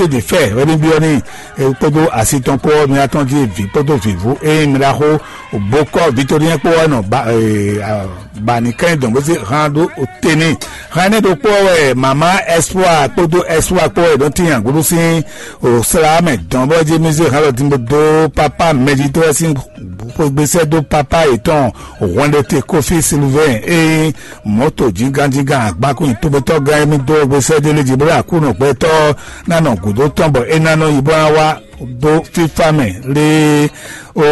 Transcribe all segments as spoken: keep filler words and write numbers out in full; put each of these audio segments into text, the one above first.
Tete fɛ wɛ ní byɔ́ n'i, kpódó asi tɔn kpó ɔ́, mi atɔn jí vǐ kpódó vǐvú ényí mi ɖaxó bokɔ Victorien kpó ɔ́ nɔ ba ba ní kɛn dɔn bó sí hán ɖó te n'i. Hán énɛ́ ɖokpó ɔ́ wɛ mama Espoir kpódó Espoir kpó wɛ ɖó tín agbǔɖú sín o sla mɛ dɔn bɔ jí mi zé hán lɔ dín bó dó papa mɛjitɔ́ sín xwégbésɛ́ dó papa yětɔn hwɛnɖéte Kofi Silvɛn e nyí mɔ̌to jínganjíngan agbankún nyi tóbɛ́tɔ́ gán émí dó xwégbésɛ́ dó lé jí bó ɖo Aklúnɔ gbɛtɔ́ ná nɔ gǔdo tɔn bɔ é ná nɔ yi bó ná wá dó fífá mɛ lé. O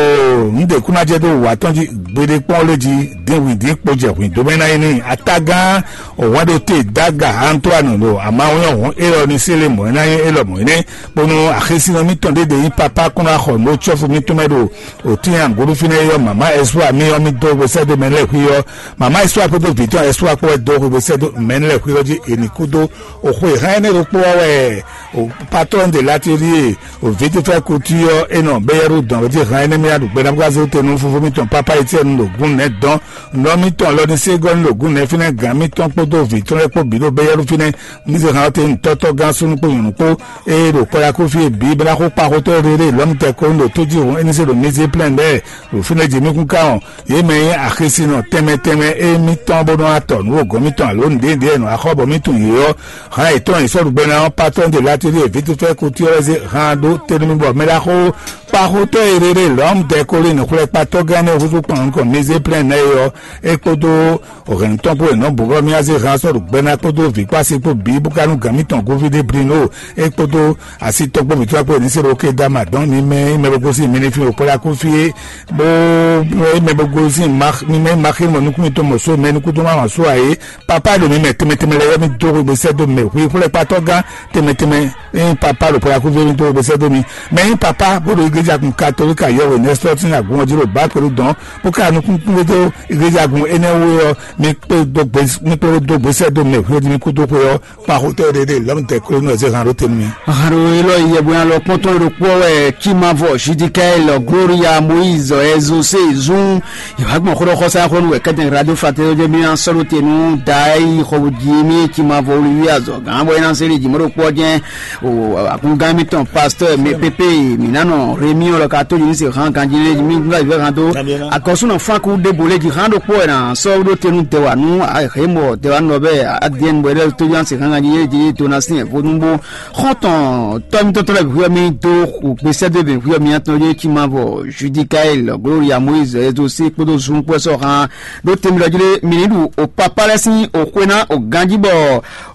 nǔɖé kún ná jɛ dó wǔ atɔn jí gbeɖé kpɔ́n lé jí dín hwǐn dín kpo jɛ hwǐn dó mɛ ná yi n'i atagán hwɛnɖéte Daga Antoine ɖo amawɔ́nyɔ́ hɔn élɔ́ ní sélé mɔ̌ é ná nyí élɔ́ mɔ̌ énɛ́ bónú axésínɔ mítɔn ɖé ɖe nyí papa kún ná xɔ nǔ cɔ́fu mítɔn mɛ ɖo òtín angolúfínɛ́ yɔ́ mama Ɛsua mí ɔ́ mí dó hwesɛ́dó mɛ lɛ́ɛ xwí ɔ́. Mama Ɛsua kpódó vǐ tɔn Ɛsua kpó wɛ dó hwesɛ́dó mɛ lɛ́ɛ xwí ɔ́ jí è nǐ kú dó. Òxwe hán énɛ́ ɖokpó ɔ́ wɛ patɔ́n de latérie òvǐtifɛ́ kutu ɔ́ é nɔ bɛ́yɛ́ɖú dɔn jí hán énɛ́ mí aɖu gbɛɖábúgázó te nú fúfú mítɔn pápá Etiɛ́nu ɖo gún nɛ̌ dɔn nɔ mítɔn lɔ ní ségɔ́ ní ɖo gún nɛ̌ fínɛ́ gǎn mítɔn kpódó vǐ tɔn lɛ́ɛ kpó bǐ ɖo bɛ́yɛ́ɖú fínɛ́. Mí zé hán ɔ́ te nyí tɔ́tɔ́gán súnnu kpo nyɔ̌nu kpo ée ɖo kɔyakúfí e bǐ bó ná xo kpa xotɔ́ e ɖe ɖe lɔ̌mutɛ́ kó ɖo tójíhún éní se ɖo mizé plɛ́n lɛ́ɛ ɖo fínɛ́ jí mí kún ká wɔn. Yě mɛ nyí axésinɔ tɛnmɛ tɛnmɛ e mí tɔ́n bó nɔ́ wá tɔ nǔ wǒgɔ́ mítɔn alo nǔɖéɖé e nɔ axɔ́ bɔ mí tunwun yě ɔ́, hán yětɔn e sɔ́ ɖu gbɛ ná ɔ́, patɔ́n de latérí e vǐtúfɛ́ kutu ɔ́ wɛ zé hán ɖó te nú mì bɔ mɛ ɖaxó kpaxotɔ́ e ɖe ɖe lɔ̌mudɛkólinɔ xwlɛ́kpatɔ́gán nɛ́ húzú kpan nukɔn mizé plɛ́n nɛ́ é ɔ́, é kpódó hɛ̌nnutɔ́ kpó e nɔ́ bǔ bɔ mì wá zé hán sɔ́ ɖo gbɛ ná kpódó vǐ kpó asi kpó bǐ bó ka nú gǎn mítɔn Govídé Blino é kpódó asi tɔn kpó vǐtɔ́ kpó e ní se ɖo ké dó ama dɔn mi mɛ e mɛ bo gosín mi ní fí ɖo kpɔ́ɖá kú fí é, bó é mɛ bo gosín mi mɛ maxí mɔ nukún mitɔn mɔ só mɛ nukún tó má mɔ só ǎ é. Papa ɖo mi mɛ tɛmɛ tɛmɛ lɛ yɔ mi dó hwegbe sɛ́ dó mɛ hwi xwlɛ́kpatɔ́ gán tɛmɛ tɛmɛ ényí papa ɖo kpɔ́ɖá kú fí é mi dó hwegbe sɛ́ dó mi. Mɛ nyí papa bó ɖo igleja kun katolíka yɔhwe nɛsɔ́tín agun ɔ́ jí ɖo bǎ kpɛɖú dɔn bó ka nukúnkún ɖó igleja gun énɛ́ wú é ɔ́, mi kpé dó gbe mi kpé dó gbesɛ dó mɛ hwéɖí mi kúdó xwe ɔ́, kpa xotɔ́ ɖé ɖé lɔmudɛkúlónú ɛ zé han ɖó te nú mi. Haro elɔ yɛbɔya lɔ kpɔntɔn ɖokpɔ wɛ Kimavɔ Judikael Gloria Moïse Ezose zun. Ìwà gbɔn xóɖɔ xɔsá xónú wɛ kɛtɛn radio fraternité de mi sɔɖo te nú da yi xɔbu ji mi Kimavɔ olivia zɔ gán bɔ ina seli jimɔ ɖokpɔ jɛ o akungán mi tɔn pasteur mi pépé mi nanɔ rémi ɔlɔ ka tó jini se han ganji lé mi gúnga ìfẹ́ han tó akɔsúnɔ fánkú débò lé ji han ɖokpɔ ɛ na sɔ ɖó tenu dɛwà nú ahemɔ dɛwà nɔ bɛ adiɛn bɔ ɛdɛ tó yan se han ganji lé ji dona sin vodun bó xɔtɔn tɔmitɔtɔ lɛ hwiɔ mi dó gbèsè dó bɛ hwiɔ mi atɔn yé ci ma vɔ Judikael Gloria Moïse Ezo sí kpódó zun kpó sɔ han ɖó temi lɔ jí lé mi ní ɖu o papa lɛ sín o xwé ná o ganji bɔ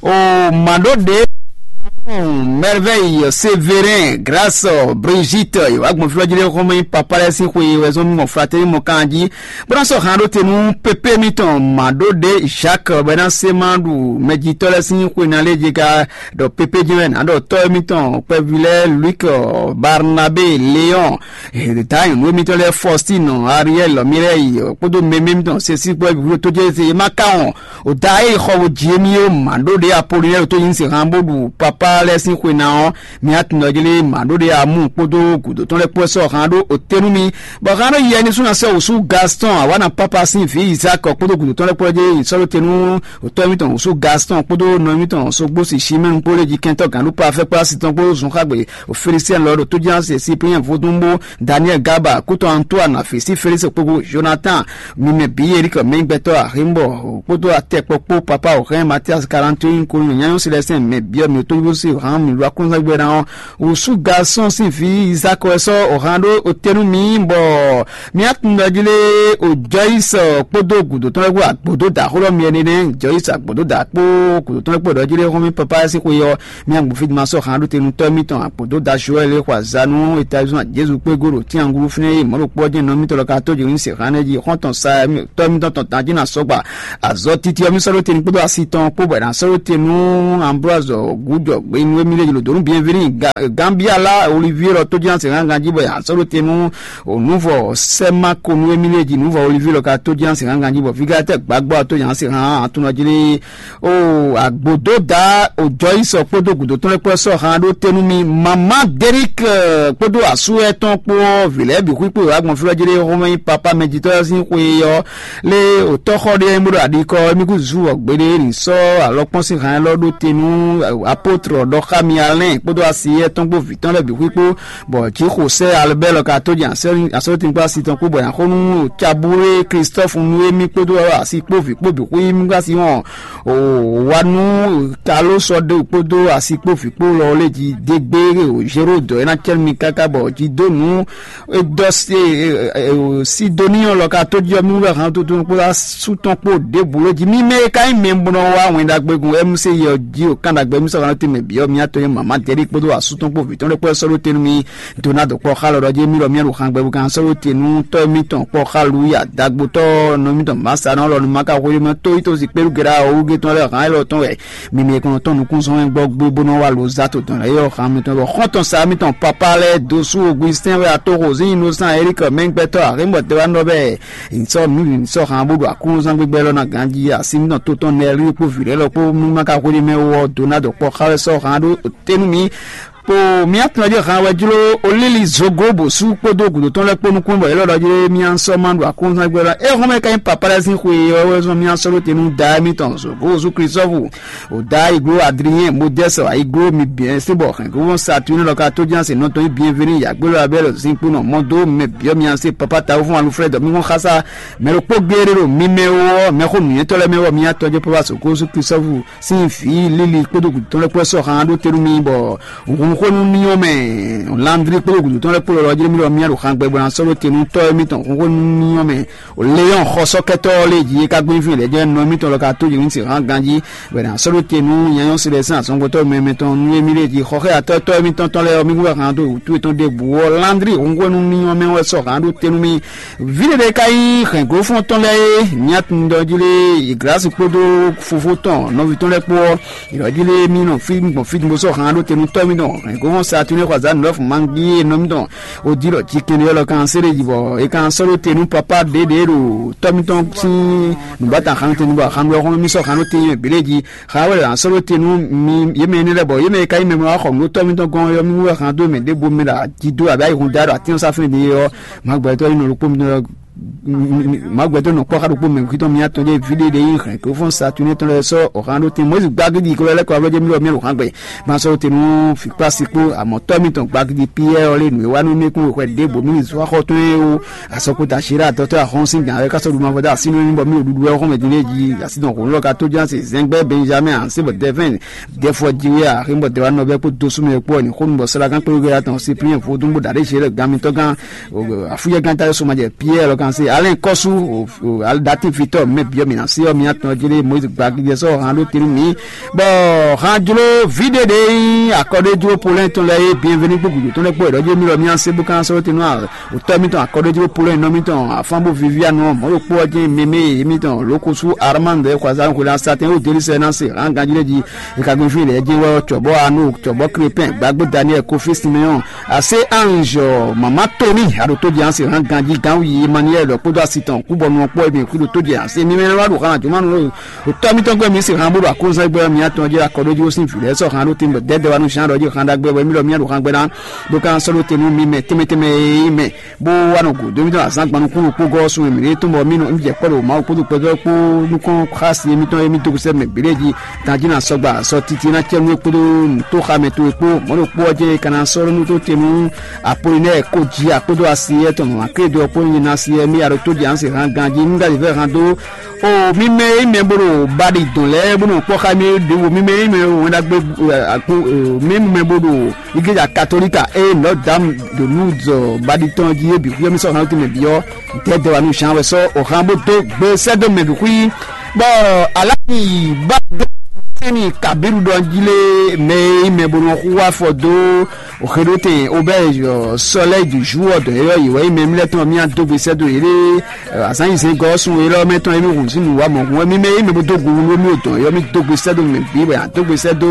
o mǎ ɖó ɖě Merveille Sévérin Grâce Brigitte ìwà gbɔn fí lɔ jí lé xɔmɛ papa lɛ sín xwe wɛ zɔn mɔ fratɛni mɔ kan jí bó ná sɔ han ɖó te nú pépé mitɔn mǎ ɖó ɖě Jacques bɛ ná se ma ɖu mɛjitɔ́ lɛ sín xwe ná lé jɛ ká ɖɔ pépé jɛ́n wɛ nǎ ɖɔ tɔ́ émítɔn kpɛví lɛ́ɛ Luc Barnabé Léon ta nyɔ̌nu émítɔn lɛ́ɛ Faustine Ariel Mireille kpódó mɛmɛ émítɔn sesi kpɛví tó jẹ́ se ma ká wɔn o da e xɔ wo jǐ émí ó mǎ ɖó ɖě Apolinɛ́ɛ tó nyí se han bó ɖu papa lɛ́ɛ sín xwe ná ɔ́ mi atundɔjlé mǎ ɖó ɖě amú kpódó gǔdo tɔn lɛ́ɛ kpó sɔ́ han ɖó o tɛ́nú mi bɔ han ɖó yɛ ní súnna sɔ́ wǔsú Gaston awana papa sín vǐ Isaac kpódó gǔdo tɔn lɛ́ɛ kpó jẹ́ sɔ́ ɖó tɛ́nú Otɔ́ émítɔn wǔsú Gaston kpódó nɔ émítɔn Sogbosi Chimɛ́nu kpó lé jí kɛntɔ́ gǎnɖúkpá afɛ́kpá asi tɔn kpó zunxágbe Felisiɛn lɔ ɖo tójánse Cyprien Vodúnbó Daniel Gaba kútɔn Antoine Fisi Felix kpókpó Jonathan mimɛ bǐ Eric mɛnyígbɛtɔ́ Ahimbɔ kpódó atɛkpɔ kpó papa Ohɛn Matias Kalantoyin kó nyɔ̌nyánywɛ́ Silɛsɛn mɛ byɔ́ mǐ tójúbúsi hǎn mǐ lu akúnzɛ́gbɛ ná ɔ́ wǔsú Gaston sín vǐ Izak wɛ sɔ́ Ohɛn ɖó otɛ́nú mǐ bɔ Mía tun ɖɔ jí lé o Jɔyis kpódó gǔdo tɔn lɛ́ɛ kpó agbǒdó da xó ɖɔ mi ɛnɛ nɛ́ Jɔyis agbǒdó da kpó gǔdo tɔn lɛ́ɛ kpó ɖɔ jí lé xɔ́mí papa sín xwe ɔ́, mía gbɔn fí ma sɔ́ han ɖó te nú tɔ́ mitɔn agbǒdó da Joɛl e xɔ azanu Etazini Jezu kpé gó ɖo tínyaŋglu fínɛ́ e mɔ̌ ɖokpó ɔ́ jɛ́n nɔ mítɔn lɔ ka tó jǒ ní se han nɛ́ jí xɔ́ntɔn sa tɔ́ mitɔn tɔn tán jí na sɔgba azɔ titi ɔ́ mí sɔ́ ɖó te nú kpódó asi tɔn kpó bɔ è nǎ sɔ́ ɖó te nú Ambroise gǔjɔ gbeyín e mí lé jlo dǒ nú Bienvenu Gambia lá Olivier lɔ tó jí na se han ganjí bɔ è nǎ sɔ́ ɖó te nú O nǔvɔ sɛ́ ma ko nú émí lée jí nǔvɔ Oliví lɔ ka tó jí ná se hán ganjí bɔ fígátɛ́ gbǎgbá ɔ́ tó nya se hán atunɔ jí lé. O agbǒdó da o jɔ yi sɔ kpódó gǔdo tɔn lɛ́ɛ kpó sɔ́ hán ɖó te nú mi mamá Derik kpódó asú ɛtɔn kpó ɔ́ vǐ lɛ́ɛ bǐ xwíkpó wá gbɔn fí lɔ jí lé xómɛ nyí papá mɛjitɔ́ ɔ́ sín xwe ɔ́ lé o tɔ́xɔ ɖé nyí bó ɖo aɖikɔ émí kú zu ɔ́ gbeɖé ní sɔ́ alɔkpɔ́n sín hán élɔ́ ɖó te nú apótlɔ ɖɔ xá mi Alɛn kpódó asi yɛ tɔn kpó vǐ tɔn lɛ́ɛ bǐ xwí kpó, bɔ Jixosɛ́ Albɛ́ɛ lɔ ka tó jɛ asɔ́tínkpá asi tɔn kpó, bɔ nyaxó nú Cabúlé Klistɔ́fu nú émí kpódó asi kpó vǐ kpó bǐ xwí mí gbá asi wɔn o wa nú Kalósɔdé kpódó asi kpó vǐ kpó lɔ lé jí dégbé o Zérodɔ é ná cɛ́ nú mi káká bɔ jí dó nǔ é dɔ Sidoni ɔ́ lɔ ka tó jí ɔ́ mí wɛ hán tuntun kpó sú tɔn kpó ɖěbǔ lé jí. Mí mɛ e ka nyí mɛ bó nɔ wá wɛn ɖagbe gun M C yɛ jí o kan ɖagbe mí sɔ́ hán tɛnmɛ bǐ ɔ́ mía tɔn nyí mama Dɛ̌ɖi kpódó asú tɔn kpó vǐ tɔn lɛ́ kpó sɔ́ ɖó te nú mí. Donado kpɔ́ xá lɔ ɖɔ jí mí lɔ mía ɖo hán gbɛ bó kan sɔ́ ɖó te nú tɔ́ émítɔn kpɔ́ xá Luya dagbotɔ́ nɔ émítɔn Masa nɔ lɔ nú ma ka hwelé mɛ tó yí tó si kpéɖu gɛɖá ɔ́ wúgé tɔn lɛ́ɛ hán élɔ́ tɔn wɛ. Mi mɛ kɔn tɔn nukúnzɔ́n wɛ gbɔ gbé bó nɔ wá lo zá to dɔn lɛ́ɛ yɔ xan mitɔn bɔ xɔ́ntɔn sa mitɔn papa lɛ́ɛ dó sú Ogbisɛ́n wɛ atóxo zín Innocent Eric mɛngbɛtɔ́ axémɔtɛwánɔ bɛɛ sɔ nǔ sɔ xan bó ɖo akúnzán gbígbɛ lɔ ná ganjí asi mitɔn to tɔn nɛ rí kpó vǐ lɛ́ɛ lɔ kpó mímá ka xwéɖí mɛ wɔ dó ná dɔ kpɔ xá wɛ sɔ xan ɖó tɛ́nú mi. Po mía tɔn jí han wɛ jló olíli zogo bó sú kpódó gǔdo tɔn lɛ́ɛ kpó nukún bɔ yě lɔ ɖɔ jí mía sɔ́ ma ɖo akúnzán gbé lɔ é hɔn mɛ ka nyí papa lɛ́ɛ sín xwe ɔ́ wɛ zɔn mía sɔ́ ɖó te nú da émítɔn zogo Jezu Klísɔ́vu. Oda iglo Adrien Modeste iglo mi bien se bɔ hɛn gbo sa tu ne lɔ ka to jan se nɔtɔn bien veni ya gbelo abel zinkpo nɔ mɔ do mɛ biɔ mi ase papa tawu fún Alfred mi ŋɔ xasa mɛ ɖo kpó geere ɖo mi mɛ wɔ mɛ xo nuyɛtɔ lɛ mɛ wɔ mi atɔ jɛ papa so ko su Kristofu sin fi lili kpodo tɔn lɛ kpɔ sɔ han ɖo tenu mi bɔ hun xo nu niɔ mɛ Landri kpodo tɔn lɛ kpó lɔ jɛ mi lɔ mi ɖo han gbɛ bɔ na sɔ ɖo tenu tɔ mi tɔn hun xo nu niɔ mɛ Leon xɔsɔkɛtɔ lé ji ka gbɛn fi lɛ jɛ nɔ mi tɔn lɔ ka to yi si han ganji Bɛnɛ a sɔ́ ɖó te nú nyanyɔ́ Silɛsɛ́n azɔngbɔtɔ́ mɛmɛ tɔn nú émí lé jí xɔxɛ́yatɔ́ tɔ́ émítɔn tɔn lɛ́ɛ ɔ́, mí wú wɛ han dó wǔtu yětɔn ɖěbǔ ɔ́, Landri hunhwenu ní ɔ́ mɛ wɛ sɔ́ han ɖó te nú mì. Vǐ ɖé ɖé ka nyí hɛ̌nglófɔ́n tɔn lɛ́ɛ é, nyatundɔ jí lé Glasi kpódó fofó tɔn nɔví tɔn lɛ́ɛ kpó ɔ́, yě jí lé mí nɔ fí gbɔn fí bó sɔ́ han ɖó te nú tɔ́ émítɔn hɛ̌nglófɔ́n Satunɛ xɔ azǎn nǔɖɔ́fǔ mangí é nɔ mítɔn ó jí ɖɔ jí kɛnɖé ɔ́ lɔ kan séré jí bɔ é kan sɔ́ ɖó te nú papá ɖěɖě ɖo tɔ́ mítɔn sín nǔbata han te nú bɔ han ɖó ɔ́ xɔ́mɛ mí sɔ́ han ɖó te nyɛ bǐ lé jí. Xa wɛ a sɔ́ ɖó te nú mi yě mɛ énɛ́ lɛ́ɛ bɔ yě mɛ e ka nyí mɛ e wá xɔ nǔ ɖó tɔ́ mítɔn gɔ́n ɔ́, yɔ́mí wú wɛ han dó mɛ ɖěbǔ mɛ ɖo ají dó abǐ ayǐhun da ɖo atín ɔ́ sá fɛ́n ɖě ɔ́, Magbɛtɔ́ nyí nɔ ɖokpó mítɔn Magbɛtɔ́ nɔ kpɔ́ xá ɖokpó mɛ kwítɔn mí atɔn jɛ vǐ ɖé ɖé nyí hɛn kó fɔ́n sa tún étɔn lɛ́ɛ sɔ́ ɔ̀han ɖó te Mɔyízi gbá gídi kó lɛ́ kɔ ablɔ́ jɛ mí lɔ mí ɖo hán gbɛ. Ma sɔ́ ɖó te nú fǐkpási kpó amɔ̌tɔ́ mítɔn gbá gídi Piyɛ́ɛ ɔ́ lé nǔ e wá nú mí kún xwɛ ɖěbǔ mí zú axɔ́ tɔn é ó. Asɔkpota Sira dɔtɔ́ ahɔ́n sín gǎn wɛ ká sɔ́ ɖu mavɔ dó así nú mì bɔ mì ɖo ɖuɖu wɛ xɔmɛ din lé jí asi dɔn hǒnú lɔ ka tó ján se zɛngbɛ Benjamin asi bɔ Dɛfɛn Dɛfɔ Jiwia axé bɔ Dɛwa nɔ bɛ kpó dosú mɛ kpó ni xónú bɔ Sɔlagán kpé wégbé atɔn Cyprien vodún bó ɖaɖé zé lɛ gán mitɔn gán afúyɛ gán ta sɔmajɛ Pierre lɔ kan se Alain Kɔsu datin fitɔ mɛ biɔ mi na se ɔ mi atɔn jele Moïse gbagidɛ sɔ han ɖó tenu mi bɔ han jlo vi ɖe ɖe akɔɖé jlo polɛ tɔn lɛ ye bienvenu gbogbo tɔn lɛ kpó ɛdɔ jɛ mi lɔ mi ase bó kan sɔ tenu a Wutɔ́ mítɔn akɔɖéjló Polónyinɔ mítɔn Afánbó Vivianu ɔ́, mɔ̌ ɖokpó ɔ́ jɛ́n mɛmɛ e mítɔn Lókosú Armande Xwazán Xwelán Satɛn ó Jelisɛ ná se hán ganjí lɛ́ɛ jí. È ka gbɛ́n fí lɛ́ɛ jɛ́n wɛ ɔ́, cɔ̌bɔ́ Anó, cɔ̌bɔ́ Krepɛ́n, gbǎgbó Daniɛ́l, Kofí Simeyɔ́n, Asé Anzɔ, Mamá Toní, aɖo tó jɛ án se hán ganjí gánwú yi Emaniyɛ́li kpódó asi tɔn kúbɔnu ɔ́ kpó e mǐ xwí ɖo tó jɛ án se mímɛ́ wá ɖo hán ajɔ̌mánu Tɔ́ mítɔn gbɛ́ mǐ se han bó ɖo aklúnzán gbɛ́ ɔ́, mǐ atɔn jí akɔ ɖó jí ó sín vǐ lɛ́ɛ sɔ́ han ɖó tɛnmɛ dɛ̌dɛ́ wa nú Jean ɖɔ jí han ɖagbe wɛ mí ɖɔ mí ɖo han gbɛ́ ná, bó ka sɔ́ ɖó te nú mi mɛ tɛnmɛ tɛnmɛ e nyí mɛ, bó wá nɔ gǔdo mítɔn azǎn gban nukúnnú kpó gɔ́ sun e mǐ ɖe tɔn bɔ mí nɔ mí jɛ kpɔ́ ɖo Mawu kpódó kpɛtɔ́ kpó nukɔn xási émítɔn e mí dó sɛ́ mɛ bǐɖé jí, ganjí ná sɔgba sɔ titi ná cɛ nú é kpódó nǔtóxamɛ towe kpó mɔ̌ ɖokpó ɔ́ jɛ́n é ka ná sɔ́ ɖó nú tó te nú Apolinɛ́ɛ kó jí akpódó asi étɔn mɔ̌ akédo ɔ́ kpó nyi ná asi é mí ya ɖo tó jɛ án se han ganjí nú ɖ'ayǐ vɛ́ han dó O mi mɛ e nyí mɛ bó ɖo baɖi dɔn lɛ́ɛ bó nɔ kpɔ́ xá mì é ɖěvo, mi mɛ e nyí mɛ e ɖo wɛn ɖagbe mi mɛ bó ɖo igleja katolika eye Notre Dame de Lourdes baɖi tɔn jí é bǐ xwíyɔ́ mì sɔ́ han tɛnmɛ bǐ ɔ́, dɛ̌dɛ̌ wa nú Jean wɛ sɔ́ o han bó dó gbe sɛ́ dó mɛ bǐ xwí. Bɔ aláti bá dó sɛni Kabiru ɖɔ jí lé mɛ e nyí mɛ bó nɔ xú afɔ dó Xeɖótɛn Obɛ́ɛ Sɔlɛ́yi Juwɔ́ɔ dɔ̌n élɔ́ yě wɛ nyí mɛ mílɛ́ tɔn mì adó gbe sɛ́ dó yěɖée azǎn yi zɛngɔ́ ɔ́ sun élɔ́ mɛ tɔn émí hun sín nǔ wá mɔ̌hun wɛ mí mɛ nyí mɛ bó dó gu wú nú mì o dɔ̌n élɔ́ mì dó gbe sɛ́ dó mɛ bǐ wɛ a dó gbe sɛ́ dó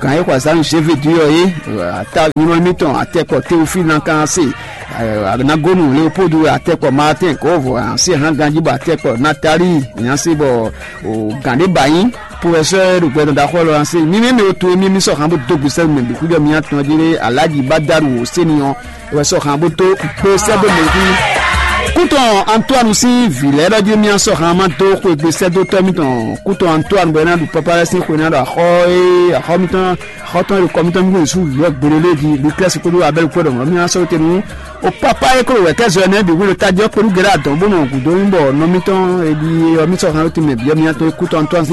gǎn e xɔ azǎn nú Zévedú ɔ́ é ata nyɔ́ émítɔn atɛkpɔ Teofílu ná kan se anagonu Leopoldu atɛkpɔ Martin Gɔ́vɔ ansi hán ganjí bɔ atɛkpɔ Natali nyansé bɔ gǎn ɖé ba nyí Professeur ɖo gbɛdɔn ɖaxó lɔ ase mímí mi to mi mi sɔ han bó dó gbèsè mɛ bi kújɔ mi atɔn jí lé alájí bá dárú wò sẹ́ni ɔ́ wɛ sɔ han bó tó gbèsè bó mɛ kú. Kútɔn Antoine sín vǐ lɛ́ɛ ɖɔ jí mì sɔ́ han ma dó xwegbe sɛ́dótɔ́ mitɔn Kútɔn Antoine bɔ é ná ɖu pápá lɛ́ɛ sín xwe ná ɖo axɔ e axɔ mitɔn xɔtɔn e ɖo kɔ mitɔn mì kún su vǐ ɔ́ gbelélé jí Luklɛ́si kpódó Abɛ́li kpó ɖɔ mɔ̌ mì sɔ́ te nú o pápá e kó ɖo wɛ̌kɛ́zɔ ɛnɛ bǐ hwenu tají ɔ́ kpé nú Gɛlá dɔn bó nɔ gǔdo nyí bɔ nɔ mitɔn e ɖi ɔ́ mì sɔ́ han tɛnmɛ bǐ ɔ́ mì tɔn Kútɔn Antoine sín